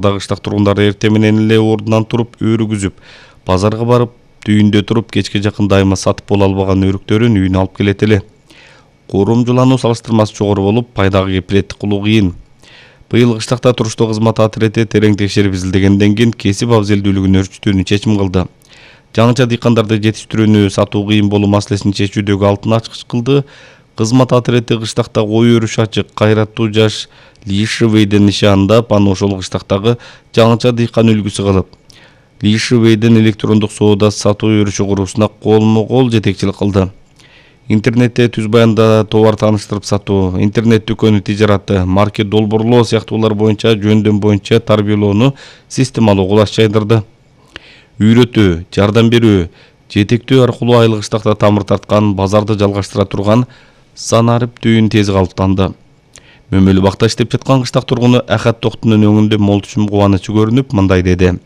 Кыштак тургундары эртең менен эле ордунан туруп өрүгүзүп, базарга барып, түйүндө туруп кечке жакын дайыма сатып боло албаган өрүктөрүн үйүнө алып келет эле. Курумжулануу салыштырмасы жогору болуп, пайдага кепилеттик кылуу кыйын. Быйыл кыштакта туруштуу кызмат атрети терең текшерип изилдегенден кийин кесип абзелдүүлүгүн өрчүтүүнү чечим кылды. Жаңыча дыйкандарды жетиштирүүнү сатуу кыйын болуу маселесин чечүүдөгү алтын ачкыч кылды. Кызмат атрети кыштакта кой өрүш ачык, кайраттуу жаш Лишевейден нишаандап, аны ошол кыштактагы жаңыча дыйкан үлгүсү кылып, Лишевейден электрондук соода сатуу өрүшү куруусуна колмо-кол жетекчилик кылды. Интернетте түз баянда товар тааныштырып сатуу, интернет дүкөнү тижараты, маркет долбоорлоо сыяктуулар боюнча жөндөм боюнча тарбиялоону системалуу кулаш жайдырды. Үйрөтүү, жардам берүү, жетектөө аркылуу айыл кыштакта тамыр тарткан, базарды жалгаштыра турган санарип түйүн тез калыптанды. Мөмөлүү бакта иштеп жаткан кыштак тургуну Ахат Токтунун өңүндө молчум кубанычы көрүнүп, мындай деди: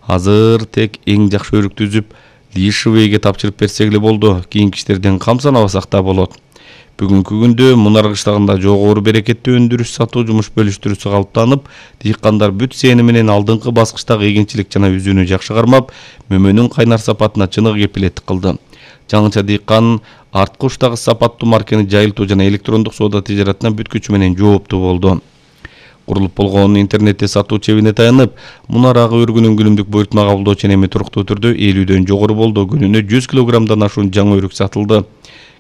"Азыр тек эң жакшы өрүктү үзүп, Лишевейге тапшырып берсек эле болду. Кийинки иштерден камсанабасак да болот. Бүгүнкү күндө Мунар кыштагында жогору берекеттүү өндүрүш сатуу жумуш бөлүштүрүүсү калыптанып, дыйкандар бүт сени менен алдыңкы баскычтагы эгинчилик жана үзүүнү жакшы кармап, мөмөнүн кайнар сапатына чыныгы кепилеттик кылды. Жаңыча дыйкан арткы уштагы сапаттуу маркени жайылтуу жана электрондук соода тижаратына бүт күчү менен жооптуу болду. Курулуп болгон интернетте сатуу чебине таянып, Мунар ага өргүнүн күнүмдүк буйртма кабылдоо ченеми туруктуу түрдө 50дөн жогору болду. Күнүнө 100 килограммдан ашуун жаңы өрүк сатылды.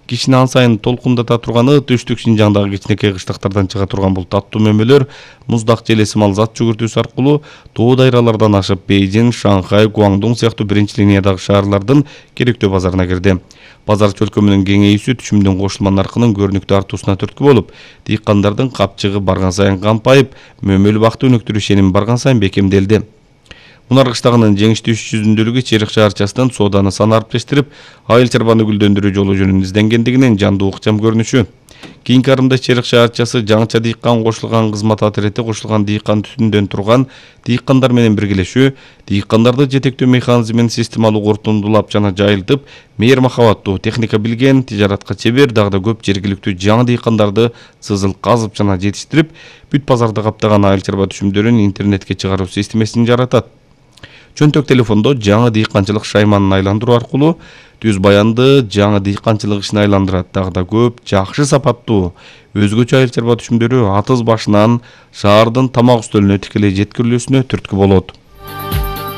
Кишини ан сайын толкундата турганы түштүк Шинжаңдагы кичинекей кыштактардан чыга турган бул таттуу мөмөлөр муздак желесимал зат жүгүртүүсү аркылуу тоо дайралардан ашып Бейжин, Шанхай, Гуандун сыяктуу биринчи линиядагы шаарлардын керектөө базарына кирди. Базар чөлкөмүнүн кеңейүүсү түшүмдүн кошулма наркынын көрүнүктүү артуусуна түрткү болуп, дыйкандардын капчыгы барган сайын кампайып, мөмөлүү бакты өнүктүрүү ишеними барган сайын бекемделди. Мунар кыштагынын жеңиштүү иш жүзүндүүлүгү Черек шаарчасынын сооданы санариптештирип, айыл чарбаны гүлдөндүрүү жолу жөнүн изденгендигинин жандуу ыкчам көрүнүшү. Кийинки арымда Черек шаарчасы жаңыча дыйкан кошулган кызмат атрети кошулган дыйкан түтүндөн турган дыйкандар менен биргелешүү, дыйкандарды жетектөө механизмин системалуу куртундулап жана жайылтып, мээр махабаттуу, техника билген, тижаратка чебер, дагы да көп жергиликтүү жаңы дыйкандарды сызыл казып жана жетиштирип, бүт базарды каптаган айыл чарба түшүмдөрүн интернетке чыгаруу системасин жаратат. Чөнтөк телефондо жаңы дыйканчылык шайманын айландыруу аркылуу түз баянды жаңы дыйканчылык ишине айландырат. Дагы да көп жакшы сапаттуу өзгөчө айыл чарба түшүмдөрү атыз башынан шаардын тамак үстөлүнө тикелей жеткирилүүсүнө түрткү болот.